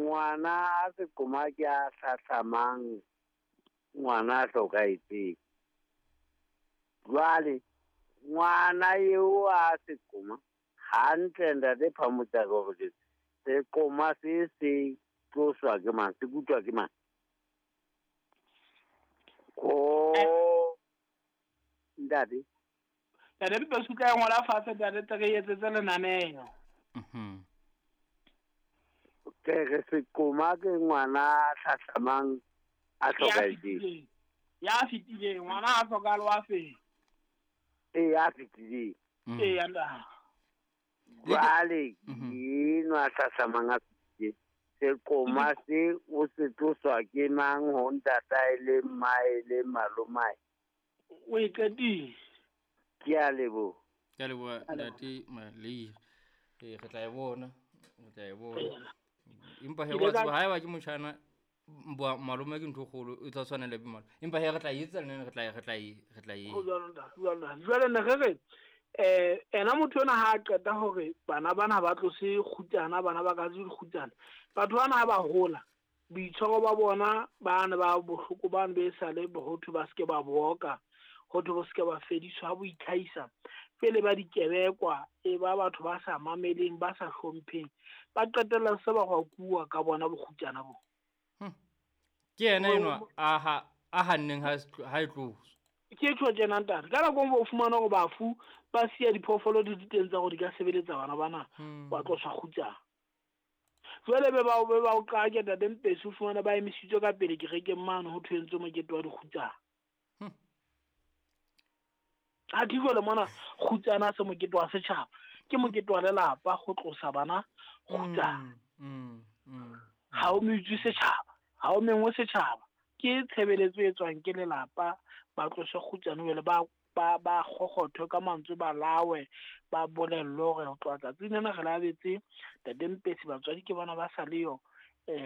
Ngwana a seqoma ke a hlahlamang ngwana a hlokahetseng. Jwale ngwana eo a seqoma hantle ntate Phamotse a ka hore seqoma se se tloswa ke mang, se kutwa ke mang? Ko ntate. Ntate Mpesi o tla e ngola fatshe ntate tle re etsetse lenaneo. Ke re seqoma ke ngwana a hlahlamang a hlokahetseng. Ya fetileng, ngwana a hlokahale wa feng? Ee, ya fetileng. Ee, ya ntate. Jwale enwa a hlahlamang a fetileng. Seqoma se o se tloswa ke mang ho ntatae le mmae le malomae? O e qetile. Ke a leboha. Ke a leboha ntate Maleire. Re tla e bona, re tla e bona. Empa he wa tseba haeba ke motjhana malome ke ntho e kgolo e tla tshwanela be malome. Empa he re tla etsa le nna re tla e. Ho jwalo ntate, ho jwalo ntate. Jwale ne re re ena motho ena ha a qeta hore bana bana ba tlose kgutsana, bana ba ka tlose kgutsana. Batho bana ha ba hola, boitshwaro ba bona ba ne ba bohloko ba ne be sale bohotho ba seke ba boka, hotho bo seke ba fediswa ha bo itlhahisa. Pele ba dikebekwa e ba batho ba sa mameleng, ba sa hlompheng, ba qetella se ba hwakuwa ka bona bokgutsana bo. Ke yena enwa a hanneng ha e tloswa. Ke tjho tjena ntate, ka nako o fumana hore bafu ba siya diphoofolo di di teng tsa hore di ka sebeletsa bana bana, wa tloswa kgutsana. Jwale be ba o qake ntate Mpesi, o fumana ba emisitswe ka pele kerekeng mane ho thwe entswe mokete wa dikgutsana. Ha ke jwale mona kgutsana se mokete wa setjhaba, ke mokete wa lelapa ho tlosa bana kgutsana. Ha o metswe setjhaba, ha o mengwe setjhaba, ke tshebeletso e tswang ke lelapa, ba tlose kgutsana jwale ba kgokgothwe ka mantswe, ba lawe, ba bolellwe hore ho tloha tsatsing lena re labetse ntate Mpesi, batswadi ke bona ba sa le yo,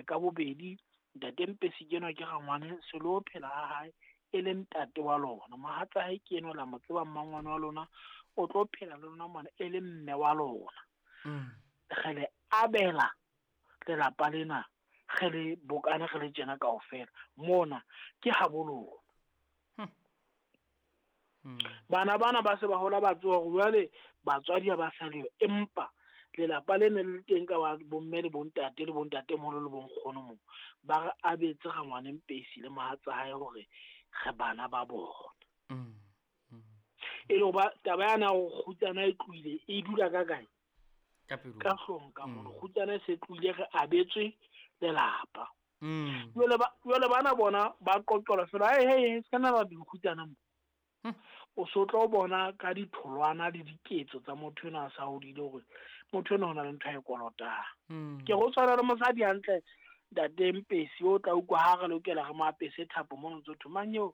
ka bobedi. Ntate Mpesi ke enwa ke rangwane, se lo phela ha hae e le ntate wa lona, mohatsa hae ke enwa la mo tseba mmangwane wa lona, o tlo phela le lona mona e le mme wa lona. Re le abela lelapa lena, re le bokane re le tjena kaofela mona ke habo lona. Bana bana ba se ba hola ba tseba hore jwale batswadi ha ba sa leyo, empa lelapa le ne le teng ka ba bomme le bontate le bontatemoholo le bonkgono moo, ba re abetse rangwane Mpesi le mohatsa hae hore re bana ba bona. E le hoba taba yana ya hore kgutsana e tlohile e dula ka kae? Ka pelong. Ka hloohong ka mono. Kgutsana e se tlohile, re abetswe lelapa. Jwale bana bona ba qoqelwa fela, hey, hey, hey, se ka nna ba dikgutsana mo. O so tlo bona ka ditholwana le diketso tsa motho enwa a sa hodile hore motho enwa o na le ntho a e kolotang. Ke go tshwana le mosadi hantle ntate Mpesi, o tla utlwa ha re lokela re mo apese thapo mono, ntso thwe mang eo,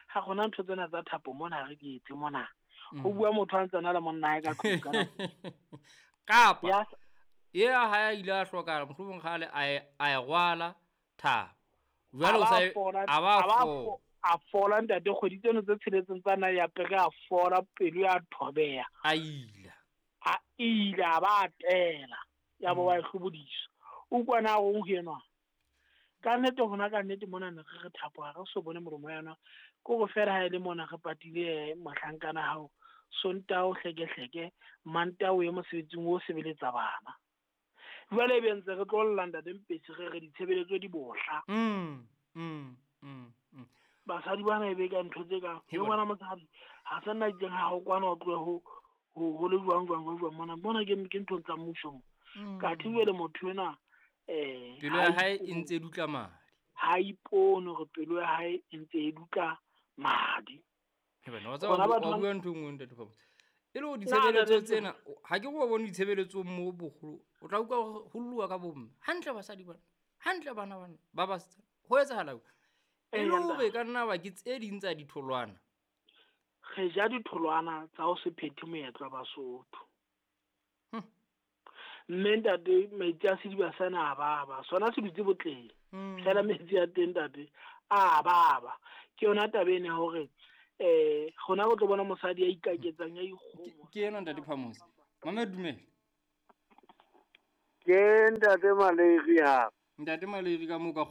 ha gona ntho tsena tsa thapo mona ha re di etse mona. Ho bua motho a ntse a na le monna hae ka tlung ka nako. Kapa e a ha a ile a hlokahala, mohlomong kgale a e rwala thapo. Jwale o sa e, a ba A ba fola. a fola ntate, kgwedi tseno tse tsheletseng tsa na ya pere a fola, pelo ya thobeha. A ila. A ila, a ba tela. Ya bo wa e hlobodiswa. O kwana o ho enwa. Ka nnete hona ka nnete mona ne re re thapo ha re so bone molomo ya yona. Ke hore feela ha e le mona re patile mohlankana hao, Sontaha o hlekehleke, Mantaha o ye mosebetsing o sebeletsa bana. Jwale ebe ntse re tlo lla ntate Mpesi re re ditshebeletso di bohla. Basadi bana e be ka ntho tse kang, He le bona. ngwana mosadi, ha se nna itseng ha o kwana o tlohe ho le jwang, jwang, jwang, jwang, mona, mona ke nthong tsa mmuso mo. Ka thi jwale motho ena, Pelo ha ya hae ipone. e ntse e dutla madi. Ha ipone hore pelo ya hae e ntse e dutla madi. He bana, wa tseba Bona batho wa ba bua ntho e nngwe ntate Phamotse. E le hore Na, ditshebeletso ntate tsena, ha ke re wa bone ditshebeletsong moo boholo, o tla utlwa hore ho lluwa ka bomme. Hantle basadi bana, hantle bana bana, ba basetsana. Ho etsahala eng? E Ee, le hore ntate. ka nna ba ke tse ding tsa ditholwana. Re ja ditholwana tsa ho se phethe moetlo wa Basotho. Mme ntate, metsi a sediba sena a baba, sona se dutse botleng. Fela metsi a teng ntate, a baba. Ke yona taba ena ya hore, rona re tlo bona mosadi ya ikaketsang, ya ikgomo. Ke ena ntate Phamotse. Mama dumela. Ke ntate Maleiri ha. Ntate Maleiri, ka moo ka